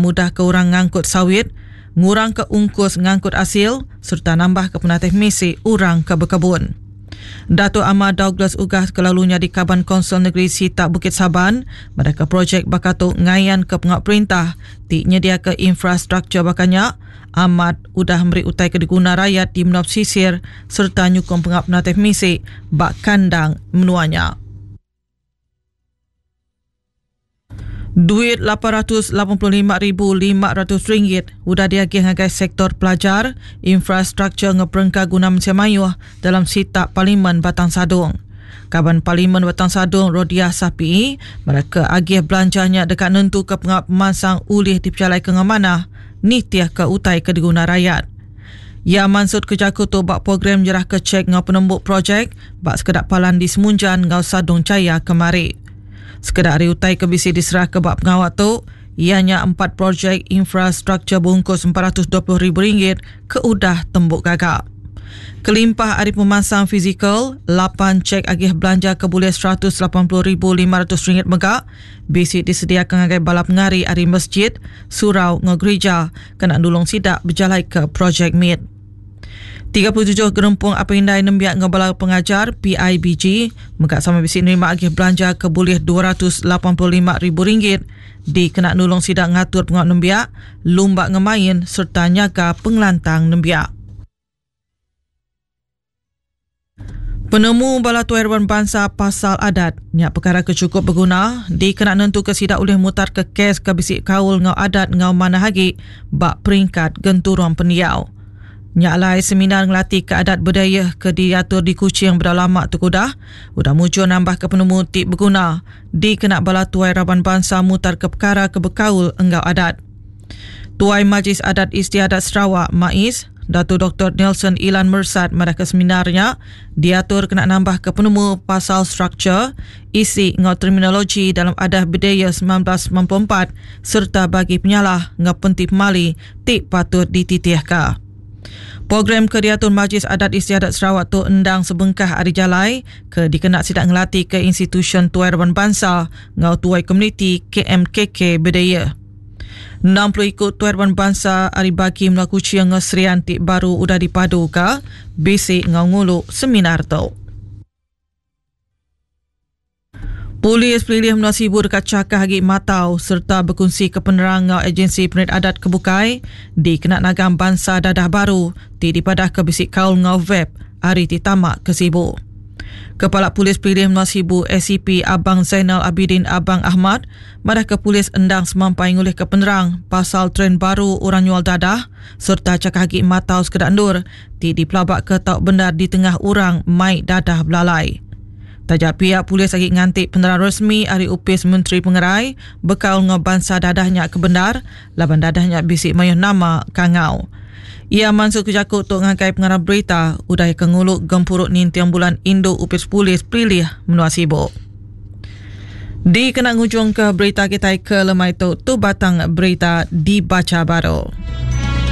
mudah ke orang ngangkut sawit, ngurangka ungkus ngangkut asil sereta nambahka penatai pemisi orang ke bekebun. Datuk Amar Douglas Uggah ke lalu nyadi Kaban Kaunsil Negeri Sitak Bukit Saban madahka projek baka tu ngayanka pengawa perintah ti nyediaka infrastruktur baka nya amat udah meri utai ke diguna rayat di menua pesisir sereta nyukung pengawa penatai pemisi ba kandang menua nya. Duit 885,500 ringgit udah diagih ngagai sektor pelajar, infrastruktur enggau perengka guna mensia mayuh dalam sitak Parlimen Batang Sadong. Kaban Parlimen Batang Sadong Rodiah Sapiee madahka agih belanja nya deka nentuka pengawa pemansang ulih dipejalaika enggau manah nitihka utai ke diguna rayat. Iya mansutka jaku tu ba program nyerahka chek enggau penembu projek ba sekeda palan di Semunjan enggau Sadong Jaya kemari. Sekeda ari utai ke bisi diserahka ba pengawa tu iya nya empat projek infrastruktur bungkus 420 ribu ringgit ke udah tembu gaga. Kelimpah ari pemansang fizikal, lapan chek agih belanja ke bulih 180,500 ringgit mega bisi disediaka ngagai bala pengari ari masjid, surau enggau gerija kena nulung sida bejalaika projek mit. 37 gerempung apai indai nembiak enggau bala pengajar PIBG mega sama bisi nerima agih belanja ke bulih 285 ribu ringgit dikena nulung sida ngatur pengawa nembiak, lumba enggau main sereta nyaga pengelantang nembiak. Penemu bala tuai raban bansa pasal adat nya pekara ke chukup beguna dikena nentuka sida ulih mutarka kes ke bisi kaul enggau adat enggau manah agi ba peringkat genturung pendiau. Nya alai seminar ngelatika adat Bidayuh ke diatur di Kuching bedau lama tu ke udah, udah mujur nambahka penemu ti beguna dikena bala tuai raban bansa mutarka pekara ke bekaul enggau adat. Tuai Majlis Adat Istiadat Sarawak, MAIS, Datu Doktor Nelson Ilan Mersat madahka seminar nya diatur kena nambahka penemu pasal struktur, isi enggau terminologi dalam Adat Bidayuh 1994 sereta bagi penyalah enggau penti pemali ti patut dititihka. Program ke diatur Majlis Adat Istiadat Sarawak tu endang sebengkah ari jalai ke dikena sida ngelatika institusyen tuai raban bansa enggau tuai komuniti KMKK Bidayuh. 60 iku tuai raban bansa ari bagi menua Kuching enggau Serian ti baru udah dipaduka bisi enggau ngulu seminar tu. Polis Pelilih Menua Sibu deka chakah agi matau sereta bekunsika penerang enggau agensi penerit adat ke bukai dikena nagang bansa dadah baru ti dipadahka bisi kaul enggau vape ari ti tama ke Sibu. Kepala Polis Pelilih Menua Sibu ACP Abang Zainal Abidin Abang Ahmad madahka polis endang semampai ngulihka penerang pasal trend baru orang nyual dadah sereta chakah agi matau sekeda endur ti dipelabaka tau bendar ditengah orang mai dadah belalai. Taja pia polis agi nganti penerang resmi ari Opis Menteri Pengerai bekaul enggau bansa dadah nya ke bendar laban dadah nya bisi mayuh nama kangau. Iya mansutka jaku tu ngagai pengarang berita udah iya ke ngulu Gempuru Ninting Bulan Indu Opis Polis Pelilih Menua Sibu. Dikena ngujungka berita kitai ke lemai tu, tu batang berita dibacha baru.